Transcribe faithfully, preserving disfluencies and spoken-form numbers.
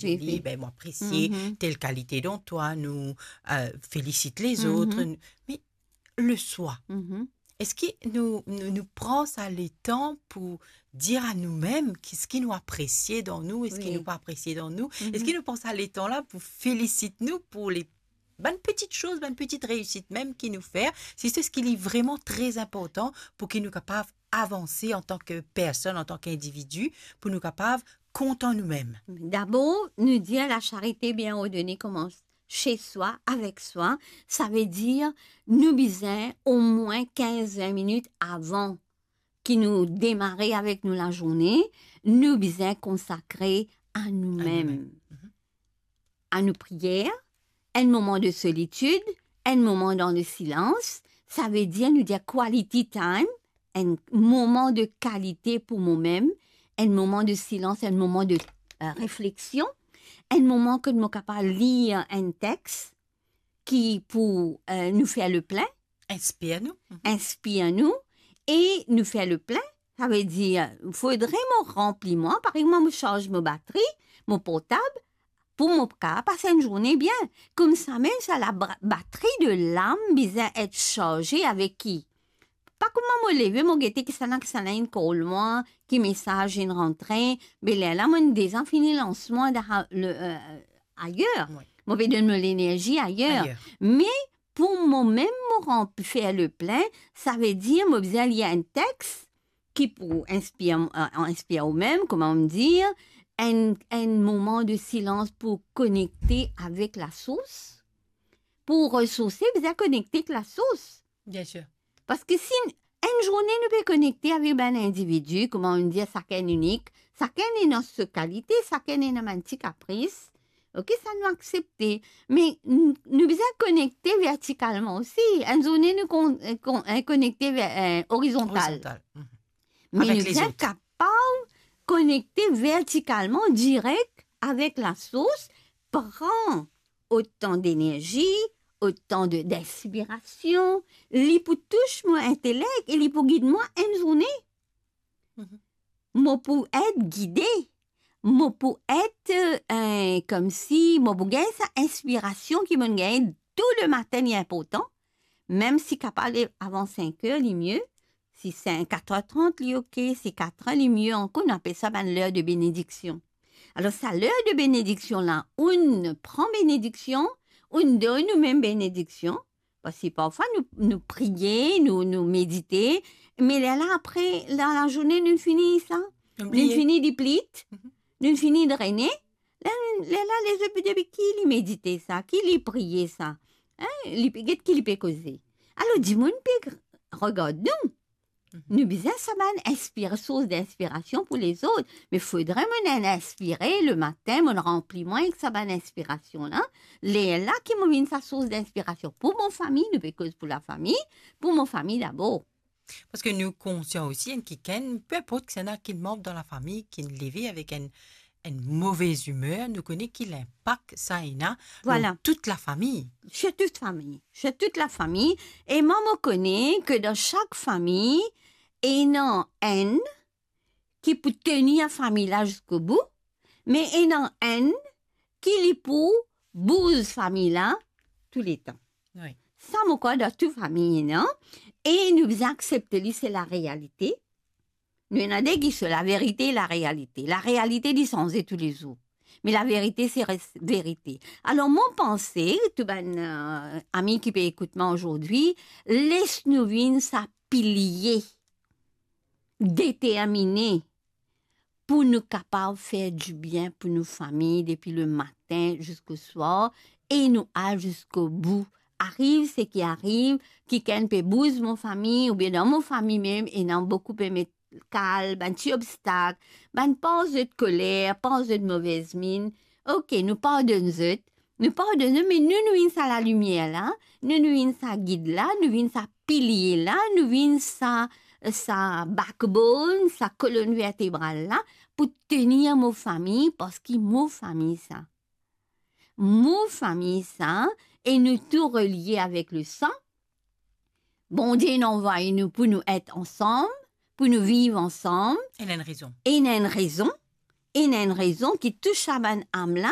Li, ben, mo apresie tel kalite dan twa, nou, euh, felisit lezot. Me le swa, eski nou, nou, nou pran sa letan pou dir a noumem ki, ki nou apresie dan nou, eski nou pa apresie dan nou? Eski nou pran sa letan la pou felisit nou pou le bann peti soz, bann peti reisit mem ki nou fer, si se ki li vreman tre inportan pou ki nou kapav avanse antan ki personn, antan ki individi, pou nou kapav kontan noumem? Dabor, nou dir lasarite bien ordone koumans se swa, avek swa. Savedir nou bizin omwin kinz, vin minit avan ki nou demare avek nou lazourne, nou bizin konsakre a noumem. A nou priyer, enn moman de solitid, enn moman dan le silans, savedir nou dir quality time, enn moman de kalite pou momem, enn moman de silans, enn moman de, euh, refleksion, enn moman kot mo kapav lir enn text ki pou, euh, nou fer le plin, inspir nou. Inspir nou e nou fer le plin. Savedir, fodre mo ranpli mwa, parey mwa mo sarz mo batri, mo portab, pou mo kapav pas enn zourne bien. Koumsa mem sa la bra-, batri de lam bizin et sarze avek ki? Pa kouma mo leve, mo gete kisannla, kisannla inn call mwa, ki mesaz inn rantre, be lerla mo deza fini lans mwa dan le, euh, ayer. Mo pe donn mo lenerzi ayer. Me pou momem mo ranpli, fer le plin, savedir mo bizin lir enn text ki pou inspir, euh, inspir ou mem, kouma nou dir, enn, enn moman de silans pou konekte avek lasours. Pou resourse, bizin konekte ek lasours. Bien sir. Parski si enn zourne nou pe konekte avek bann individi, kouma nou dir, sakenn inik, sakenn ena so kalite, sakenn ena bann ti kapris, ok, sa nou aksepte. Me n-, nou bizin konekte vertikalman osi. Enn zourne nou kon-, kon-, konekte ver-, euh, orizontal. Orizontal. Me nou bizin kapav konekte vertikalman, direk avek lasours, pran otan denerzi, otan de, dinspirasion, li pou tous mo intelek e li pou gid mwa enn zourne. Mo pou et gide, mo pou et, euh, koumsi mo pou gagn sa inspirasion ki mo gagn tou le matin, li inportan, mem si kapav avan sink er, li mie, si se katr er trant, li ok, si katr er, li mie ankor, nou apel sa bann ler de benediksion. Alor, sa ler de benediksion la, ou'nn pran benediksion, ou'nn donn noumem benediksion, parski parfwa nou, nou priye, nou, nou medite, me lerla apre, la, lazourne, nou fini sa. Nou fini depleted, nou fini drene, la, lerla lezot pe dir, "Be ki li medite sa, ki li priye sa? Hein? Li pe, get ki li pe koze." Alor, dimoun pe regard nou. Nou bizin sa bann inspir-, sours dinspirasion pou lezot. Me fodre mo inn inspire le matin, mo ranpli mwa ek sa bann inspirasion la. Lerla ki mo vinn sa sours dinspirasion pou mo fami, nou pe koz pou lafami, pou mo fami dabor. Parski nou konsian osi, enn kikenn, pe inport ki ena ki manb dan lafami, ki leve avek enn, enn move imer, nou kone ki linpak sa ena lor tout lafami. Se tout fami, se tout lafami. E mwa, mo kone ki dan sak fami, ena enn ki pou tenir fami la ziska bou, me ena enn ki li pou bouz fami la touletan. Wi. Sa, mo krwar dan tou fami ena, e nou bizin aksepte li, se larealite. Nou ena de gis, laverite e larealite. Larealite, li sanze toulezour. Me laverite, se res verite. Alor, mo panse, tou bann, euh, ami ki pe ekout mwa azordi, les nou vinn sa pilie determine pou nou kapav fer dibien pou nou fami depi le matin ziska swar e nou al ziska bou. Ariv seki ariv, kikenn pe bouz mo fami, oubien dan mo fami mem, ena boukou pe met kal, bann ti obstak, bann par zot koler, par zot movez min. Ok, nou pardonn zot, nou pardonn zot, me nou, nou vinn sa lalimier la, nou, nou vinn sa gid la, nou vinn sa pilie la, nou vinn sa, sa backbone, sa kolonn vertebral la, pou tenir mo fami, parski mo fami sa. Mo fami sa, e nou tou relie avek le san. Bondie inn anvway nou pou nou et ansam, pou nou viv ansam. Ena enn rezon. Ena enn rezon, ena enn rezon ki tou sa bann am la,